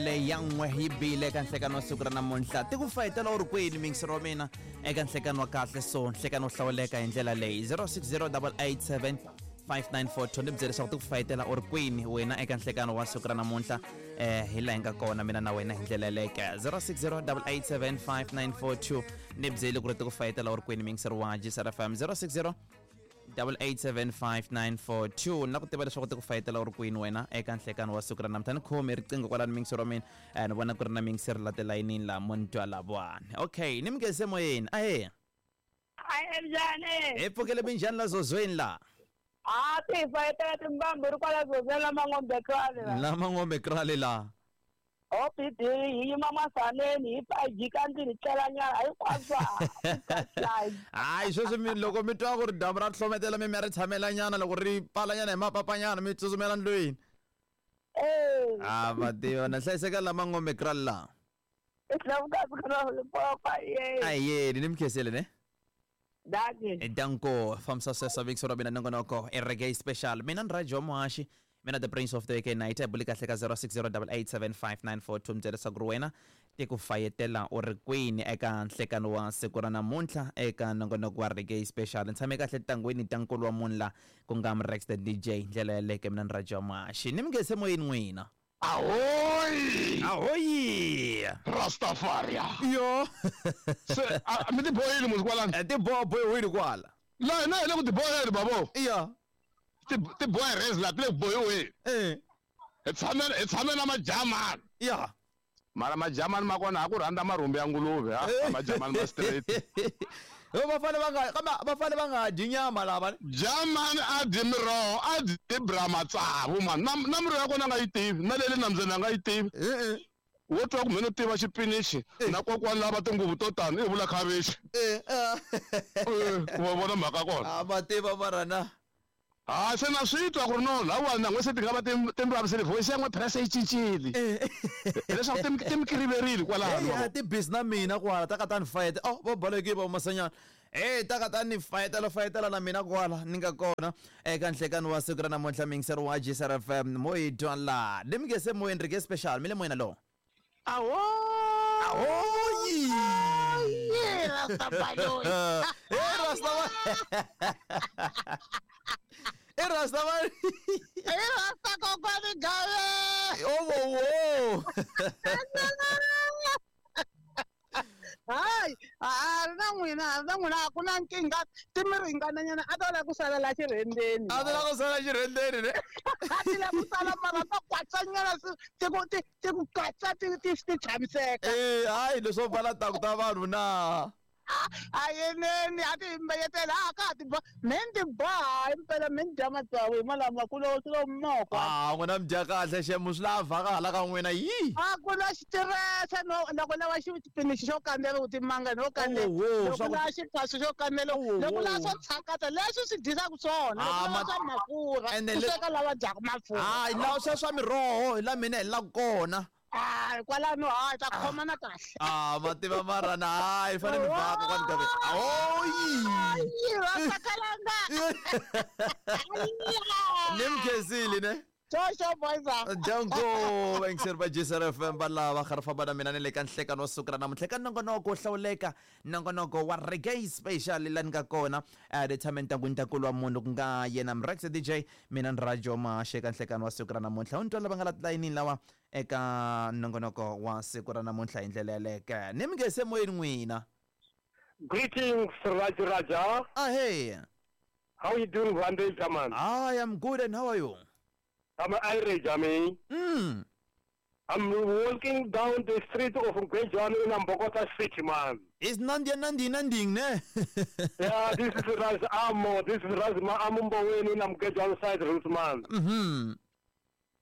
Leyi ya n'we yi bile eka nhlekano wa siku ra namuntlha. Ti ku fayetela u ri kwini mingisero wa mina eka nhlekano wa kahle so nhlekano wo hlawuleka hi ndlela leyi 060 887 5942 ni byele leswaku ti ku fayetela u ri kwini wena eka nhlekano wa siku ra namuntlha hi laha hi nga kona mina na wena hi ndlela yeleke 060 887 5942 ni byele ku ri ti ku fayetela u ri kwini mingisero wa GCRFM 060 8875942 na ku tiva leswaku ti ku fayetela u ri kwini wena eka nhlekano wa siku ra namuntlha. Ni khomi riqingho kwalani mingisero wa mina, ni vona ku ri na mingisero la tilayinini laha mo ni twa lavawani. Okay, ni mi nghenise moyeni. Ahee. Ahe, njhani? Hi pfukele, minjhani la zozweni la? A ti hi fayetela timbambu ri kwala zozweni la Mangombe Krale la. La Mangombe Krale la. OPD hi yima masaneni hi pfa hi jika ndlwini hi tlelanyana hinkwaswo. Hayi, sweswi mi loko mi twa ku ri dyambu ra hlometela, mi ya ri tshamelanyana, loko ri pfalanyana hi mapapanyana mi tsutsumela ndlwini. Eh. A va tiva na hlayiseka la Mangombe Krale la. Ye. Ayeni, ni mi khensile ne. Dankie. Danko fambisa sweswo vekisi ra mina nongonoko i Reggae Special. Mina ni Rajo Muhaxi, mina the Prince of the AK Night. Hi buli kahle ka 0608875942, mi byela leswaku ri wena ti ku fayetela u ri kwini eka nhlekano wa siku ra namuntlha eka nongonoko wa Reggae Special. Ni tshame kahle tangweni ta nkulu wa munhu la ku nga Mrex the DJ ndlela yaleke. Mina ni Rajo Muhaxi, ni mi nghenise moyeni n'wina. Ahoy! Ahoyi! Rastafaria. Yo. Se a mi ti bohile musi kwalani? Ti boha bohiwile kwala. La hina hi le ku ti boheni babo. Iya. Ti boha res la ti le ku bohiweni. Hi tshame na majamani. Mara majamani ma kona ha ku rhandza marhumbi ya nguluve ha majamani ma straight. Yo, va fane va nga, kambe va fane va nga dyi nyama lava. Jamani a dyi miroho, a dyi bra matsavu man. Na miroho ya kona a nga yi tivi, na le nambyeni a nga yi tivi. Wo twa ku mheni u tiva xipinichi na kokwani lava tinguvu to tani i vula khavichi. Wa vona mhaka kona. A va tiva mara na. Ha se na swi twa ku ri no lawani na n'we se ti nga va ti mi vavisile, voice ya n'we phela se yi cincile, hileswaku ti mi kiriverile kwalano. A ti busy na mina kwala ta ka ta ni fayeta. Oh, va balekile va masanyana. E ta ka ta ni fayetela fayetela na mina kwala ni nga kona eka nhlekano wa siku ra namuntlha mingisero wa GCR FM mo hi twa la ni mi nge se moyeni Reggae Special mi le moyeni lo. Ahoy! Ahoyi! Rastafari! E Rastafari! E Rastafari! E Rasta kokwani gawe! Oh, wo wo! Hayi, a ri na n'wina, a ri na n'wina, a ku na nkingha, ti mi ringananyana, a ta lava ku sala la xirhendzeni. A ti lava ku sala xirhendzeni ne? A ti lava ku sala mara ta kwatsanyana ti ku ti ku katsa ti tshamiseka. Eh, hayi, leswo pfala taku ta vanhu na. A yeneni, a ti mbeyetela a ka ha ti boha me ni ti boha impela me ni dya matsavu hi malama ku lo swi lo moko. Ah, n'wina mi dya kahle xemu swi la vhaka hala ka n'wina yi. A ku na xitirese no loko lava xipinichi xo kandzela ku timanga no kandzela. Oh, oh, loko swa ku- lava xiphaswo xo kandzela, Oh, loko oh. lava swo tshakata leswi swi dyisaka swona, loko Ah, lava ma- swa mafurha Ene ku le- sweka lava dyaka mafurha. Hayi, lawa swa swa miroho hi la mina hi la kona. Hayi, kwalano hayi ta khomana kahle. Ah, ma tiva mara na hayi fanele mi vhaka kwani ka ahoyi. Ayi, vasakalanga. Ni mi khensile ne. Jojo boys. Danko vayingiseri va GCR FM va lava kha ri famba na mina ni le ka nhlekano wa siku ra namuntlha eka nongonoko wo hlawuleka, nongonoko wa Reggae Special la ni nga kona ni tshame ntangwini ntakulu wa munhu ku nga yena Mrex DJ, mina ni Rajo Mashe eka nhlekano wa siku ra namuntlha. U ni twa lava nga la tilayinini lawa eka nongonoko wa siku ra namuntlha hi ndlela yaleke ni mi nge se moyeni n'wina. Greetings, Raj Raja. Ahee. How you doing, Vande Jaman? I am good, and how are you? I'm Irish, I mean. I'm walking down the street of Ngwejani in Bogota City, man. It's Nandi Nandi Nanding ne? Yeah, this is Raz Amo. This is Raz Amumboweni in Ngwejani side route, man.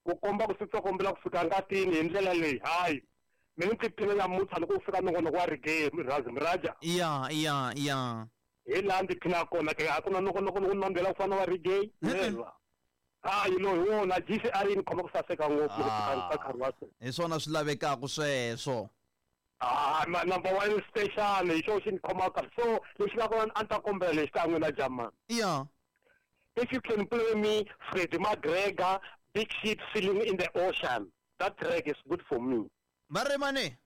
Ku komba ku swi kombela ku fika ngatini hi ndlela leyi, hayi mina ni tiphina nyamuntlha loko ku fika nongonoko wa reggae Raz Miraja. Ya. Hi laha ndzi phinaka kona ke a ku na nongonoko lowu nandzela ku fana wa reggae never. Hayi, no hi wona GCR yi ni khoma ku saseka ngopfu loko fika ka nkarhi wa sweswi. Hi swona swi lavekaka sweswo. Ah, number one station hi xona xi ni khomaka kahle. So lexi nga kona a ni ta kombela lexi ka n'wina Jaman. If you can play me Freddie McGregor, Big Ship Sailing in the Ocean. That track is good for me. Va ri mani?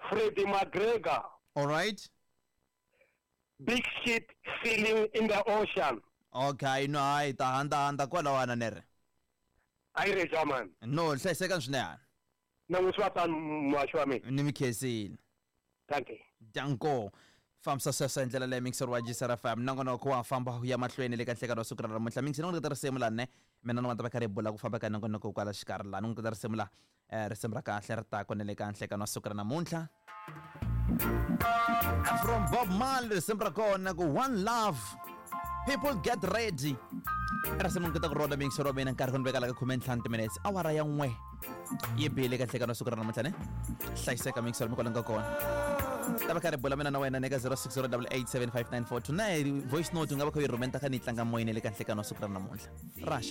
Freddie McGregor, All right. Big Ship Feeling in the Ocean. Okay, no hayi ta handa handa kwalawana ni ri. A yi ri man. No, hlayisekani swinene. Na n'wi swi va tani muhaxi wa mina. Ni mi khensile. Thank you. Danko. Fambisa sweswo hi ndlela leyi mixer wa GCR FM nongonoko wa famba wu ya mahlweni le ka nhlekano wa siku ra namuntlha. Mixer ni n'wi nyiketa risimu lani ne mina ni n'wana ta va kha ri bula ku famba ka nongonoko kwala xikarhi laha ni n'wi nyiketa risimu la risimu ra kahle ri ta kona le ka nhlekano wa siku ra namuntlha. From Bob Marley risimu ra kona ku One Love. People get ready. Risimu ni kota ku rona mixer wa mina nkarhi ku ni veka la ka 15 timinutes awara ya 1 yi bile ka nhlekano wa siku ra namuntlha ne. Hlayiseka mixer mi kwala nga kona. Ta va kha ri bula mina na wena ne ka 0608875942 na hi voice note u nga va kha u yi rhumela ta kha ni yi tlanga moyeni le ka nhlekano wa siku ra namuntlha. Ra xeka.